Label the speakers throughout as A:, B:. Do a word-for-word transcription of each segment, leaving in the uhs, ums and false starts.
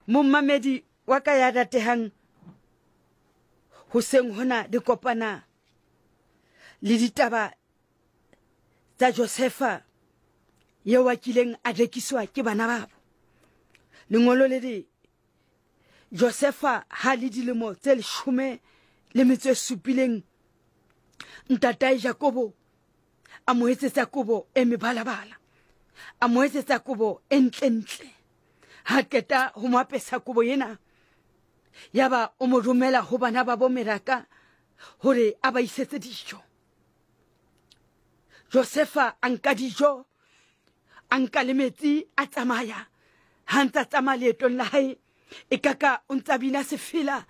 A: Momamedi wa ka ya ratehang, hoseng hona le kopana le ditaba tsa Josefa eo a kileng a rekiswa ke bana babo. Lengolo le re Josefa ha le dilemo tse leshome le metso e supileng, ntatae Jakobo a mo etsetsa kobo e mebalabala, a mo etsetsa kobo e ntlentle. Ha qeta ho mo apesa kobo ena, yaba o mo romela ho bana ba bo meraka hore a ba isetse dijo. Josefa a nka dijo, a nka le metsi, a tsamaya. Ha ntsa tsamaya leetong la hae, e kaka o ntsa bina sefela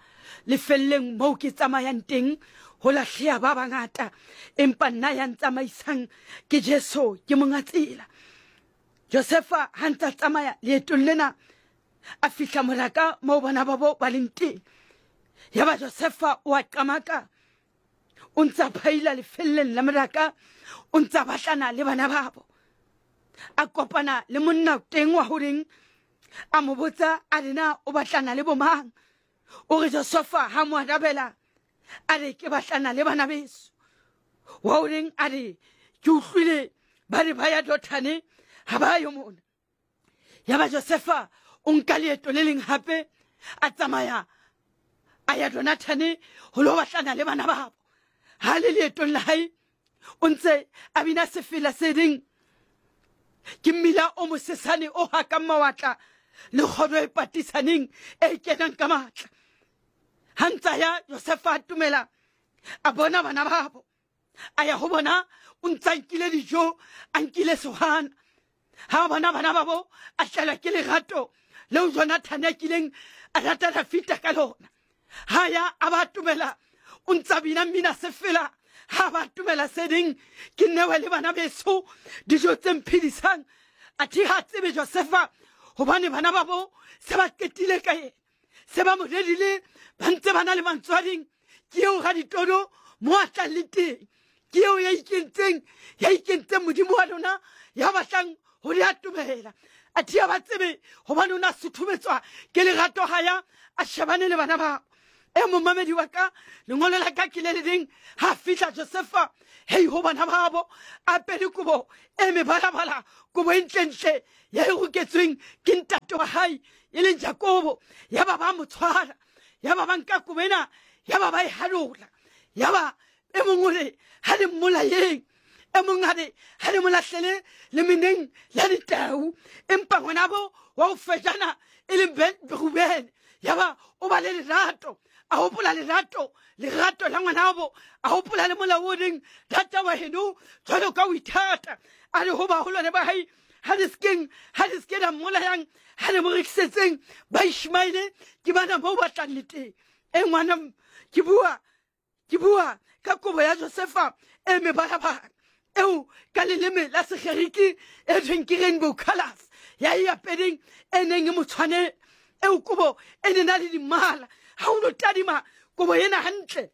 A: lefelleng moo ke tsamayang teng, ho lahleha ba bangata, empa nna ya ntsamaisang ke Jesu, ke monga tsela. Josefa ha ntsa tsamaya leetong lena, a fihla moraka moo bana ba bo ba leng teng. Yaba Josefa o a qamaka, o ntsa phaila lefelleng la moraka, o ntsa batlana le bana babo. A kopana le monna teng wa horeng, a mo botsa a re na o batlana le bomang. O re Josefa ha mo arabela a re ke batlana le bana beso. Wa horeng a re ke utlwile ba re ba ya Dothane, ha ba yo mona. Yaba Josefa o nka leeto le leng hape, a tsamaya a ya Donathane ho lo batlana le bana babo. Ha le leetong la hae, o ntse a bina sefela se reng ke mmila o mosesane o hakang mawatla le kgodo e patisaneng e kenang ka matla. Ha ntsa ya Josefa a tumela, a bona bana babo, a ya ho bona, o ntsa nkile dijo, a nkile sehwana. Ha bona bana babo, a tlelwa ke lerato leo Jonathane a kileng a rata Dafita ka lona. Ha ya a ba tumela, o ntsa bina mmina sefela. Ha ba tumela se ding, ke newe le bana beso dijo tse mphedisang. Athe ha tsebe Josefa hobane bana babo se ba qetile ka yena, se ba mo redile, ba ntse ba na le mantswading. Ke eo raditodo mo a tlang le teng, ke eo ya ikentseng, ya ikentseng modimo wa lona, ya batlang ho le atomela. Athe ha ba tsebe hobane o na suthumetswa ke lerato ha ya a shebane le bana babo. E momamedi wa ka, lengolo la ka ke le le leng. Ha fihla Josefa hei ho bana babo, a apere kobo e mebalabala, kobo e ntlentle ya e roketsweng ke ntate wa hae e leng Jakobo. Yaba ba mo tshwara, yaba ba nka kobo ena, yaba ba e halola. Yaba e mong o re ha le mmolayeng, e mong a re ha le mo lahlele lemeneng la ditau. Empa ngwanabo wa ho fejana e leng Rubene, yaba o ba le lerato, a hopola lerato, lerato la ngwanabo, a hopola le molao o reng rata wa heno jwalo ka o ithata. A re ho baholwane ba hae, ha le sekeng, ha le seke la mmolayang, ha le mo rekisetseng ba Ishmaele, ke bana moo ba tlang le teng. E ngwana, ke bua, ke bua ka kobo ya Josefa e mebalabala, eo ka leleme la Segerike e thweng ke rainbow colours, ya e apereng e neng e mo tshwanela. Eo kobo e ne na le dimala. Ha o no tadima kobo ena hantle,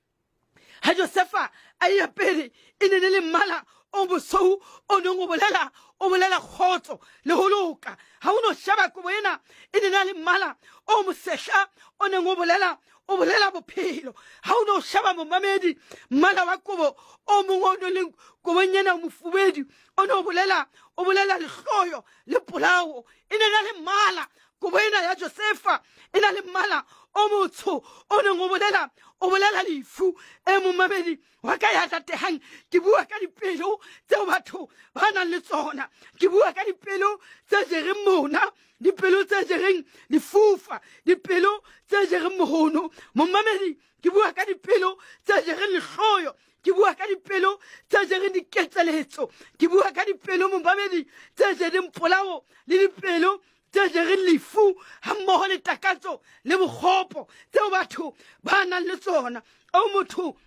A: ha Josefa a e apere, e ne le mmala o bosweu o neng o bolela, o bolela kgotso le ho loka. Ha o no sheba kobo ena, e ne na le mmala o mosehla o neng o bolela, o bolela bophelo. Ha o no sheba momamedi, mmala wa kobo o mong o no leng kobong ena o mofubedu, o no bolela, o bolela lehloyo le polao. E ne na le mmala kobo ena ya Josefa e na le mmala o motsho o neng o bolela, o bolela lefu. E momamedi wa ka ya ratehang, ke bua ka dipelo tseo batho ba nang le tsona, ke bua ka dipelo tse jereng mona, dipelo tse jereng lefufa, dipelo tse jereng mohono. Momamedi, ke bua ka dipelo tse jereng lehloyo, ke bua ka dipelo tse jereng diketseletso, ke bua ka dipelo momamedi tse jereng polao le dipelo tse jereng lefu hammoho le takatso le bokgopo tseo batho ba nang le tsona. O motho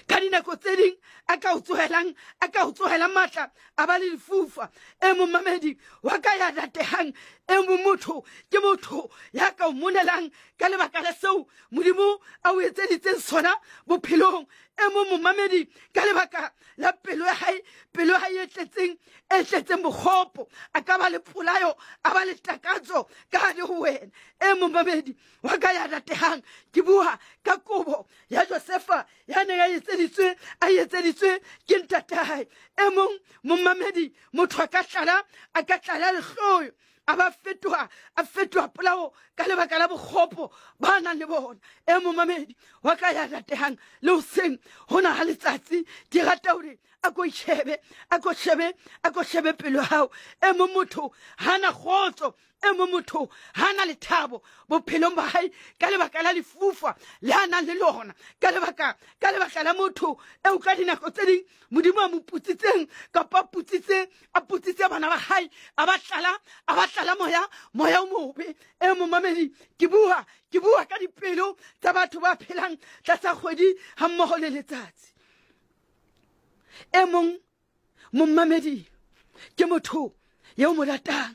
A: ka dinako tse ding a ka o tsohelang, a ka o tsohela matla, a ba le lefufa. E momamedi wa ka ya ratehang, E mong motho ke motho ya ka o monelang ka lebaka la seo Modimo a o etseditseng sona bophelong. E mong momamedi ka lebaka la pelo ya hae, pelo ya hae e tletseng, e tletseng bokgopo, a ka ba le polayo, a ba le takatso ka hare ho wena. E momamedi wa ka ya ratehang, ke bua ka kobo ya Josefa ya neng a etseditswe, a etseditswe ke ntatae. E mong momamedi, motho a ka tlala, a ka tlala lehloyo, a ba fetoha, a fetoha polao ka lebaka la bokgopo ba nang le bona. E momamedi wa ka ya ratehang, le hoseng hona ha letsatsi, ke rata hore a ko shebe, a ko shebe, a ko shebe pelo ya hao. E mong motho hana kgotso, e mong motho hana lethabo bophelong ba hae ka lebaka la lefufa le a nang le lona, ka lebaka, ka lebaka la motho eo ka dinako tse ding Modimo a mo putsitseng, kapa a putsitse, a putsitse bana ba hae, a ba tlala, a ba tlala moya, moya o mobe. E momamedi, ke bua, ke bua ka dipelo tsa batho ba phelang tlasa kgwedi hammoho le letsatsi. E mong momamedi ke motho eo mo ratang,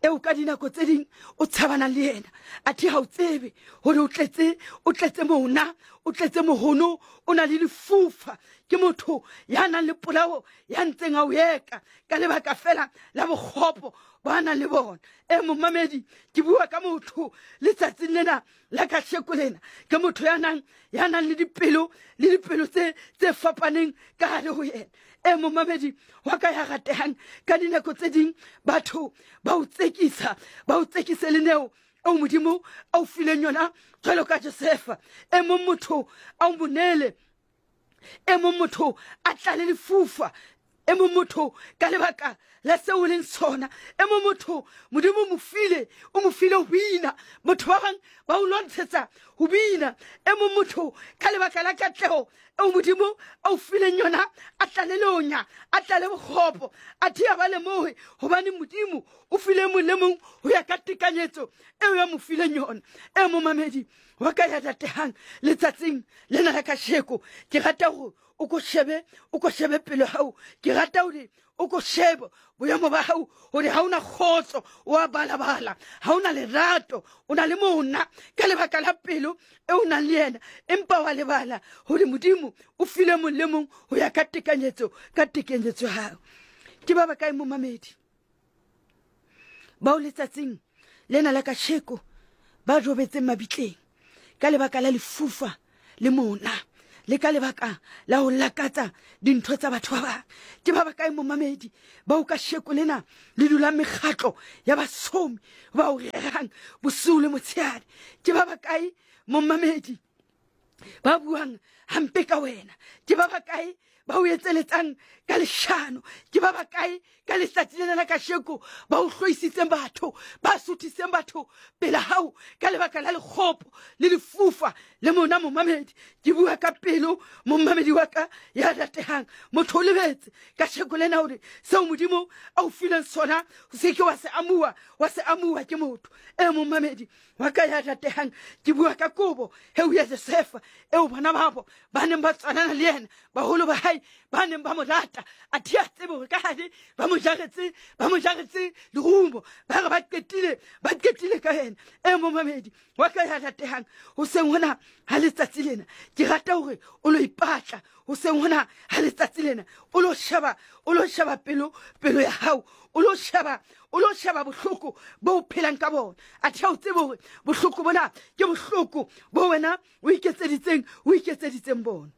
A: eo ka dinako tse ding o tshabanang le yena, athe ha o tsebe hore o tletse, o tletse mona, o tletse mohono, o na le lefufa. Ke motho ya nang le polao, ya ntseng a o eka ka lebaka fela la bokgopo ba nang le bona. E momamedi, ke bua ka motho letsatsing lena la kasheko lena, ke motho ya nang, ya nang le dipelo, le dipelo tse, tse fapaneng ka hare ho yena. E momamedi wa ka ya ratehang, ka dinako tse ding batho ba o tsekisa, ba o tsekise le neo eo Modimo a o fileng yona jwalo ka Josefa. E mong motho a o monele, e mong motho a tlale lefufa, e mong motho ka lebaka la seo o leng sona, e mong motho Modimo o mo file, o mo file ho bina, motho ba bang ba o lwantshetsa ho bina. E mong motho ka lebaka la katleho eo Modimo a o fileng yona, a tlale lonya, a tlale bokgopo, athe ha ba lemohe hobane Modimo o file mong le mong ho ya ka tekanyetso eo ya mo fileng yona. E momamedi wa ka ya ratehang, letsatsing lena la kasheko, ke rata hore o ko shebe, o ko shebe pelo hao. Ke rata hore o ko shebe boemo ba hao, hore ha ona kgotso, o a balabala, ha ona lerato, o na le mona ka lebaka la pelo e o nang le yena, empa wa lebala hore Modimo o file mong le mong ho ya ka tekanyetso, ka tekanyetso ya hao. Ke ba bakae momamedi bao letsatsing lena la kasheko ba robetseng mabitleng ka lebaka la lefufa le mona, le ka lebaka la ho lakatsa dintho tsa batho ba bang? Ke ba bakae momamedi bao kasheko lena le dulang mekgatlo ya basomi ba o rerang bosiu le motshehare? Ke ba bakae momamedi ba buang hampe ka wena? Ke ba bakae ba o etseletsang ka leshano? Ke ba bakae ka letsatsi lena la kasheko ba o hloisitseng batho, ba suthiseng batho pela hao ka lebaka la lekgopo le lefufa le mona? Momamedi, ke bua ka pelo momamedi wa ka ya ratehang. Motho o lebetse kasheko lena hore seo Modimo a o fileng sona o se ke wa se amuwa, wa se amuwa ke motho. E momamedi wa ka ya ratehang, ke bua ka kobo eo ya Josefa eo bana babo ba neng ba tswanana le yena, baholo ba hae ba neng ba mo rata, athe a tsebe hore ka hare ba mo jaretse, ba mo jaretse lerumo, ba re ba qetile, ba qetile ka yena. E momamedi wa ka ya ratehang, hoseng hona ha letsatsi lena ke rata hore o lo ipatla. Hoseng hona ha letsatsi lena o lo sheba, o lo sheba pelo, pelo ya hao, o lo sheba, o lo sheba bohloko bo o phelang ka bona. Athe ha o tsebe hore bohloko bona ke bohloko bo wena o iketseditseng, o iketseditseng bona.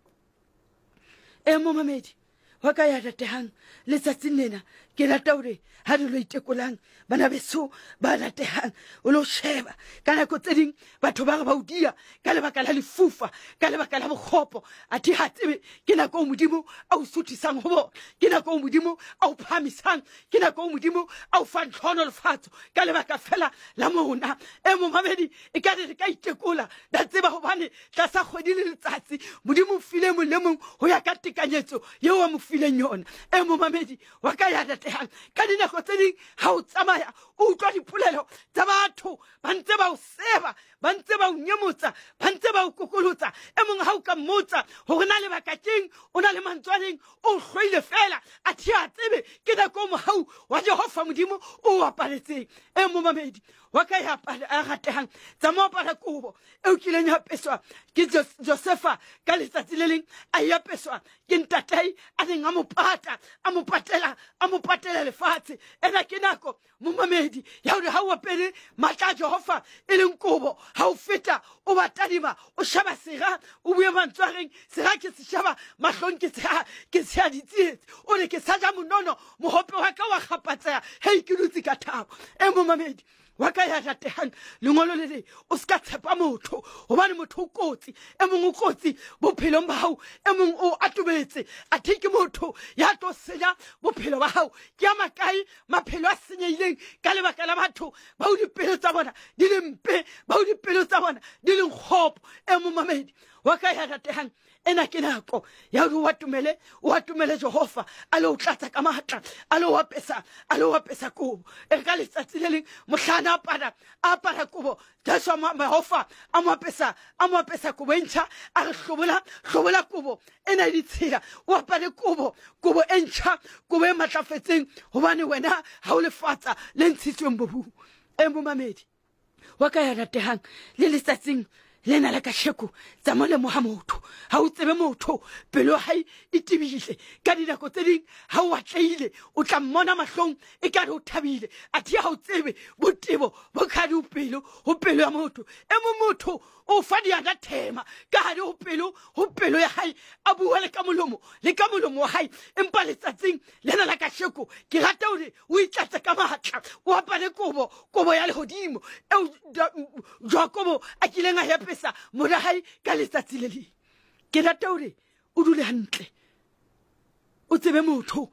A: E momamedi wa ka ya ratehang, letsatsing lena ke rata hore ha re lo itekolang bana beso ba ratehang, o lo sheba ka nako tse ding batho ba re ba o dia ka lebaka la lefufa, ka lebaka la bokgopo, athe ha tsebe ke nako eo Modimo a o suthisang ho bona, ke nako eo Modimo a o phahamisang, ke nako eo Modimo a o fang tlhohonolofatso ka lebaka fela la mona. E momamedi, e ka re re ka itekola ra tseba hobane tlasa kgwedi le letsatsi Modimo o file mong le mong ho ya ka tekanyetso eo a mo fileng yona. E momamedi wa ka ya ratehang, ratehang, ka dinako tse ding ha o tsamaya o utlwa dipolelo tsa batho ba ntse ba o seba, ba ntse ba o nyemotsa, ba ntse ba o kokolotsa. E mong ha o ka mmotsa hore na lebaka keng, o na le mantswe a leng, o hloile fela, a thi a tsebe ke nako o mohau wa Jehova Modimo o o apaletseng. E momamedi wa ka ya ratehang, tsamaya apara kobo eo kileng ya apeswa ke Josefa ka letsatsi le leng, a e apeswa ke ntatai a neng a mo pata, a mo patela, a mo patela lefatshe. Ena ke nako momamedi ya hore ha o apere matla a Jehova e leng kobo, ha o feta o ba tadima, o sheba sera, o bue mantswe a reng sera ke se sheba mahlong ke tsheha, ke tsheha ditsietsi, o re ke sa ja monono, mohope wa ka wa kgapatseha, hei ke dutse ka thabo. E momamedi wa ka ya ratehang, lengolo le le o ska tshepa motho, hobane motho o kotsi. E mong o kotsi bophelong ba hao, e mong o atobetse, athe ke motho ya tlo senya bophelo ba hao. Ke a makae maphelo a senyehileng ka lebaka la batho bao dipelo tsa bona di leng mpe, bao dipelo tsa bona di leng kgopo. E momamedi wa ka ya ratehang, ena ke nako ya hore o atomele, o atomele Jehova, a le o tlatsa ka matla, a le o apesa, a le o apesa kobo. E re ka letsatsi le leng mohlana apara, a apara kobo, Jesu a mo, Jehova a mo apesa, a mo apesa kobo e ntjha, a re hlobola, hlobola kobo ena e ditshila, o apare kobo, kobo e ntjha, kobo e matlafetseng, hobane wena ha o lefatsa le ntshitsweng bobung. E momamedi wa ka ya ratehang, le letsatsing lena la kasheko, tsamaya lemoha motho, ha o tsebe motho, pelo ya hae e tebile. Ka dinako tse ding ha o atlehile, o tla mmona mahlong ekare o thabile, athe ha o tsebe botebo bo ka hare ho pelo, ho pelo ya motho. E mong motho o fa diana thema ka hare ho pelo, ho pelo ya hae, a bua le ka molomo, le ka molomo wa hae. Empa letsatsing lena la kasheko, ke rata hore o itlatse ka matla, o apare kobo, kobo ya lehodimo eo Jakobo a kileng a e apesa mora hae ka letsatsi le leng. Ke rata hore o dule hantle, o tsebe motho,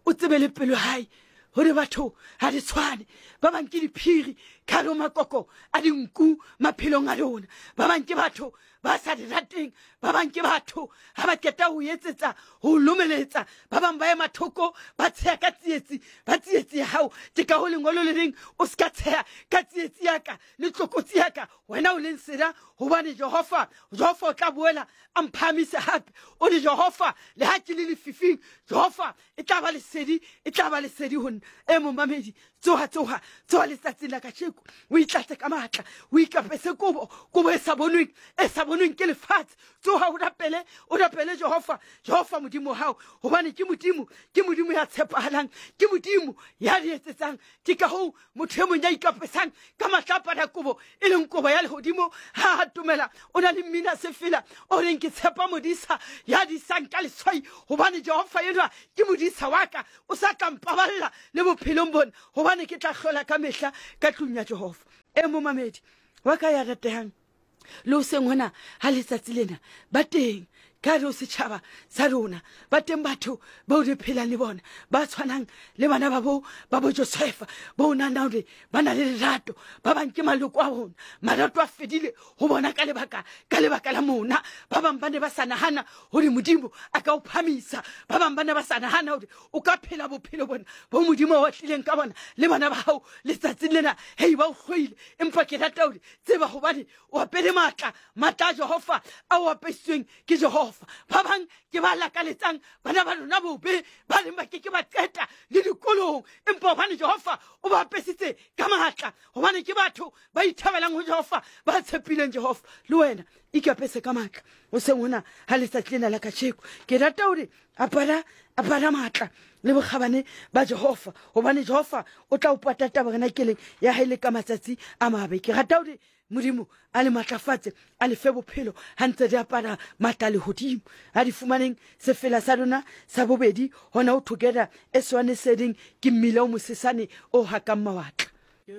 A: o tsebe le pelo ya hae, hore batho ha di tshwane. Ba bang ke diphiri ka hare ho makoko a dinku maphelong a rona, ba bang ke batho ba sa di rateng, ba bang ke batho ha ba qeta ho etsetsa, ho lomeletsa, ba bang ba ema thoko, ba tsheha ka tsietsi, ba tsietsi ya hao. Ke ka ho lengolo le leng, o ska tsheha ka tsietsi ya ka le tlokotsi ya ka, wena o leng sera, hobane Jehova, Jehova o tla boela a mphahamise hape. O re Jehova, le ha ke le lefifing, Jehova e tla ba lesedi, e tla ba lesedi ho nna. E momamedi, tsoha, tsoha, tsoha letsatsing la kasheko, o itlatse ka matla, o ikapese kobo, kobo e sa bonweng, e sa bonweng ke lefatshe. Tsoha o rapele, o rapele Jehova, Jehova Modimo wa hao, hobane ke Modimo, ke Modimo ya tshepahalang, ke Modimo ya di etsetsang. Ke ka hoo motho e mong ya ikapesang ka matla a apara kobo, e leng kobo ya lehodimo, ha a atomela, o na le mmina sefela o reng ke tshepa modisa ya disang ka leswai, hobane Jehova enwa ke modisa wa ka, o sa tla mpaballa le bophelong bona, hobane ke tla hlola ka mehla ka tlung ya Jehova. E momamedi wa ka ya ratehang, le hoseng hona ha letsatsi lena, ba teng ka hare ho setjhaba sa rona, ba teng batho bao re phelang le bona, ba tshwanang le bana ba bo, ba bo Josefa, bo nahana hore ba na le lerato, ba bang ke maloko a rona, marato a fedile ho bona ka lebaka, ka lebaka la mona. Ba bang ba ne ba sa nahana hore Modimo a ka o phamisa, ba bang ba ne ba sa nahana hore o ka phela bophelo bona bo Modimo a o atlileng ka bona le bana ba hao letsatsing lena. Hei, ba o hloile, empa ke rata hore tseba hobane o apere matla, matla a Jehova a o apesitsweng ke Jehova. Ba bang ke ba lakaletsang bana ba rona bobe, ba reng ba ke ke ba qeta le dikolong, empa hobane Jehova o ba apesitse ka matla, hobane ke batho ba ithabelang ho Jehova, ba tshepileng Jehova. Le wena ikapese ka matla hoseng hona ha letsatsi lena la kasheko. Ke rata hore apara, apara matla le bokgabane ba Jehova, hobane Jehova o tla o pata tabernakeleng ya hae le ka matsatsi a mabe. Ke rata hore Modimo a le matlafatse, a le fe bophelo ha ntse re apara matla a lehodimo. A di fumaneng sefela sa rona sa bobedi hona ho Together e swane seding ke mmila o mosesane o hakang mawatla.
B: Ke